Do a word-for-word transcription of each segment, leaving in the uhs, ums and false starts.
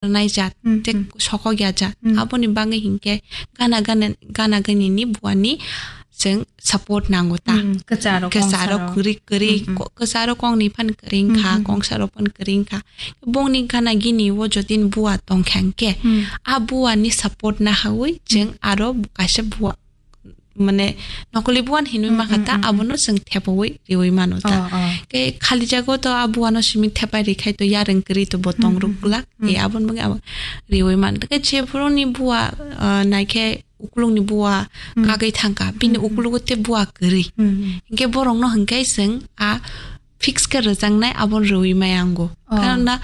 rwnai jat, Hmm, tei hmm. sokok ya jat. Hmm. Aboni bagwi hinkhe gana gana, gana gani ni buani chwng support nango ta. Hmm, kwcharo, kwcharo, kongsaro. Kwrwi, kwrwi, Hmm, hmm. ko-, kwcharo kongni phan kwrwi wngkha, Hmm, hmm. kongsaro phan kwrwi wngkha. Bongni gana gini o jotini bua tongkha hinkhe, Hmm. a buani support nahawi chwng Hmm. aro kaisa bua, mane nokoli buan hinwi Hmm, makha hmm, ta, hmm, abono chwng thepawi riwi mano ta. Oh, oh. Ke khali jago to a buano simi thepai rikhai to yareng kwrwi to bo tong Hmm, hmm, rukla. Hmm. E abon bangwi abo riwi man. Ke je phuruni bua, ah, naikhe ukulungni bua Hmm. kagwi thangkha, bini Hmm, hmm. ukulugo te bua kwrwi. Hmm, hmm. Hinkhe borokno hinkhe chwng a fix khe rwjaknai abo rwui maya ango. Oh. Karon na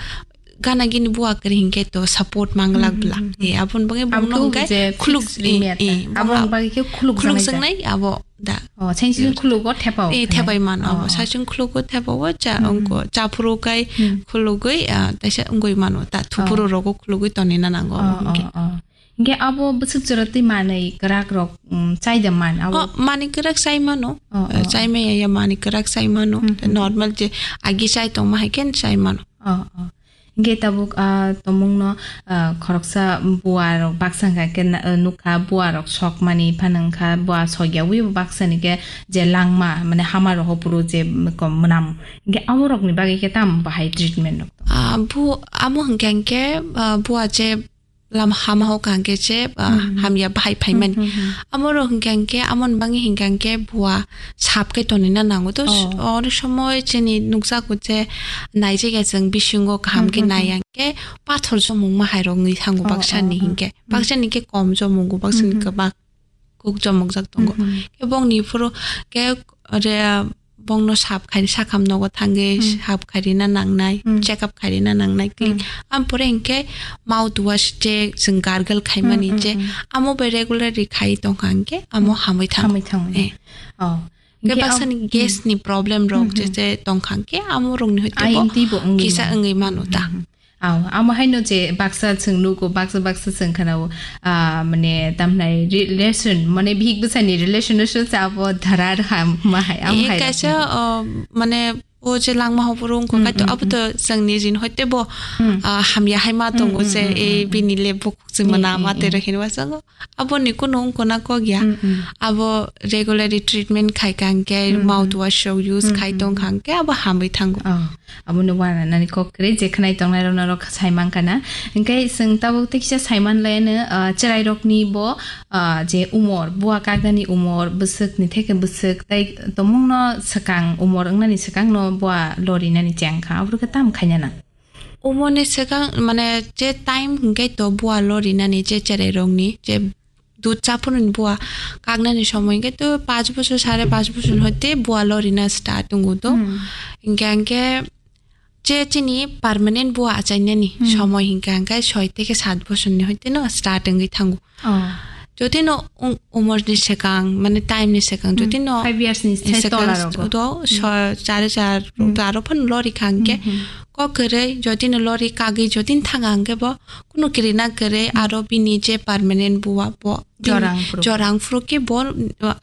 gana gini bua kwrwi hinkhe to support manglak Hmm, bla. Hmm, hmm. E, aboni bagwi Abo bongno to hwnkhe je khuluk, fix e, limit e, na. Aboni bongno bagwi khe khuluk khuluk janai da. Janai abo da. Oh, saising khulugo thepao E, khe. Thepai mano abo. Oh, oh. Saising khulugo thepao cha Hmm, hmm. ongko chaphuru kai Hmm. khulugwi, ah, taisa wngwi mano ta thupuru Oh. rogo khulugwi tonina nango Oh, abo hinkhe. Oh, oh. Hinkhe abo bwswk jora twi manwi kwrak rok, um, chai da man abo? Oh, manwi kwrak chai mano. Oh, Eh, oh. Chai maya ya manwi kwrak chai mano. Hmm, hmm. Normal je agi chai tongma hai khe chai mano. Oh, oh. Hinkhe tabuk, ah, tomungno, ah, khoroksa bua rok baksa hwnkha khe na, ah, nukha bua rok sok mani phano wngkha bua sok ya wi baksa ni khe je langma mane hama rok ho phuru je kom mwnam. Hinkhe abo rok ni bagwi khe tam bahai treatment rok tong? Ah, bu-, amo hwnkha hinkhe, ah, bua je lam hama ho kangke che, ah, Hmm, hmm. hamya bahai phaimani. Hmm, hmm, hmm. Amoro hingke hingke, amon bangi hingke hingke bua sap ke tonina nango. To s-, Oh. Oro somoi chini nukjago che naijega chwng bisingo kaham ke Hmm, hmm, nai hmm. Ang ke pathor chomung ma hai rok ngi thango Oh, baksa ni oh, oh. Hingke. Hmm. Baksa ni ke kom chomungo, baksa ni Hmm, hmm. Kwbak. Kuk chomokjak tongo. Mhm. Khe bongni phuru khe re, bongno sap khai, sakham nogo thangwi Hmm. Sap khairina nangnai, Hmm. Check up khairina nangnai, clean. Hmm. Ampore hinkhe mouth wash je chwng gargle khaimani Hmm, hmm, je hmm. Amo bai regularly khai tongkha hinkhe amo Hmm. Hamwi thango. Hamwi thango. Eh. Oh. Khe hinkhe baksa am-, ni gas hmm. Ni problem rok Hmm, je, hmm. Je tongkha hinkhe amo rokni hwtebo I N T bo wngwi kisa mano. Wngwi mano ta. Hmm, hmm. Aw, amo haino je baksa chwng nugo, baksa baksa chwng khanao, ah, mane tamnai re-, relation, mane bihik bwsani relation no se abo dharar ham ma hai, amo hai kaisa, rok. Oh, mane o je langma hopor wngkho, hmm, kaito hmm, abo to chwngni rin hoite bo, hmm. Ah, hamya hai ma tongo hmm, je, hmm, eh, hmm, bini le bukhuk se hmm, mana hmm, ma hmm. Tero hinwa sango. Abo ni kuno wngkona kok ya. Mm, mm. Abo regularly treatment khai kha hingke, mm, mm. Mouthwash rok use khai tong kha hingke abo hamwi thango. Oh, abo no wana nani kok kwrwi je khwnai tongnai rok norok sai man kana. Hingke chwng tabuk tei kisa sai man lai no, ah, cherai rok ni bo, ah, je umor, bua kaknani umor, bwswk ni theke bwswk tei tomung no swkang umor wngnani swkang no bua lori nani cheng kha. Abo khe tam khaina nang. Umoni swkang, mane, je time hingke to bua lorinani je cherai rokni, je dud chaphununi bua kaknani somoi hingke to panch bosor, sare panch bosor hoite bua lorina start wngo to. Hmm. Hingke hingke je chini permanent bua achainani hmm. Somoi hingke hingke soi teke sat bosorni hoite no start wngwi thango. Oh. Jotino um-, umor ni swkang, mane time ni swkang, hmm. Jotino five years ni sai swkang tola rogo. Do, hmm. So, char char, hmm. Aro phano lori kha hingke, hmm, hmm. Kok kwrwi, jotino lori kagwi, jotino thanga hingke bo, kuno kirina kwrwi, hmm. Aro bini je permanent bua, bo, bini jorang phuru. Jorang phuru ke bo,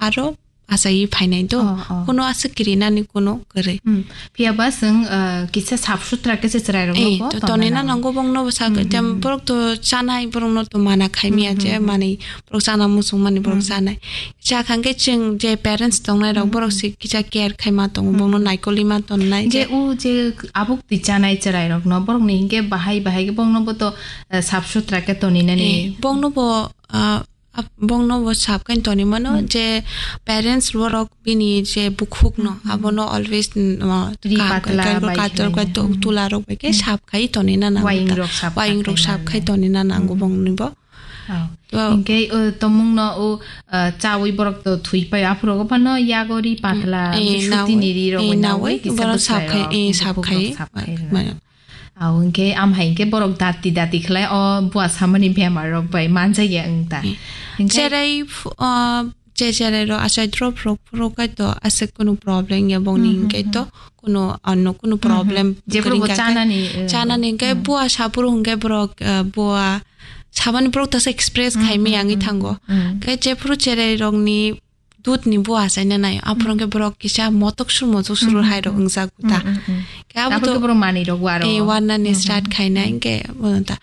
aro achaiwi phainai do. Oh, oh. Kuno aswk kirinani kuno kwrwi. Hmm. Phiya ba chwng, uh, kisa sap sutra khe se chwrai rok eh, no bo to tonwi tonwi na nango. Nango bongno bo sak hmm, hmm, tem hmm. Borok to chanai, borok no to mana khai miya hmm, je hmm, hmm. Manwi borok chana muchung mani borok hmm. Chanai. Cha khang khe chwng je parents tongnai rok hmm, borok hmm. Se kisa care khai ma tongo hmm. Bongno naikoli ma tonnai je je u je abuk ti chanai chwrai rok no borok ni hingke bahai bahai ke bongno bo to, uh, sap sutra khe tonwi nani. Eh, bongno bo, uh, Ap-, bongno bo sap khe toni mano hmm. Je parents borok bini je bukhuk no hmm, hmm. Abono always, mm, uh, ri kaham patla khe, bai kator khe to-, hmm. Tula rok bai khe hmm. Sap khai toni na nango. Waying ta. Rok sap waying rok khai sap khai nani. Toni na nango hmm. Bongni bo. Oh. To hingke, uh, tomung no, uh, uh, chawi borok to thui pai aphuru go phano yago ri patla hmm. Eh, suti nawi. Ni ri rok eh, bai nawi. Nawi kisa borok bwsai sap khai rok eh, sap bukhuk khai. Rok sap khai rw. Mano. Aw, hingke am hai hingke borok dati dati khlai o bua samani bemar rok bai manjak ya wng ta. Hmm. Hingke cherai ph-, o, je cherai rok achai drop rok phuru kai to aswk kunu problem ya bongni hmm, hmm, hingke to hmm. Kunu ano kunu hmm, hmm. Problem. Jephuru kwrwi bo hingka khe chanani, eh, chanani hingke hmm. Bua saphuru hingke borok, eh, bua samani borok tasa express hmm, khai hmm, miyangwi hmm, thango. Hmm. Hingke jephuru cherai rokni dud ni bua achaina nai. Aphuru hmm. Hingke borok kisa motok sur motok sur hmm, hmm, hai rok hmm. Wngjago ta. Hmm, hmm, hmm. Khe abo aphuru to khe borok manwi rok waro. Eh, warnani hmm, start hmm. Khaina hmm. Hingke bono ta.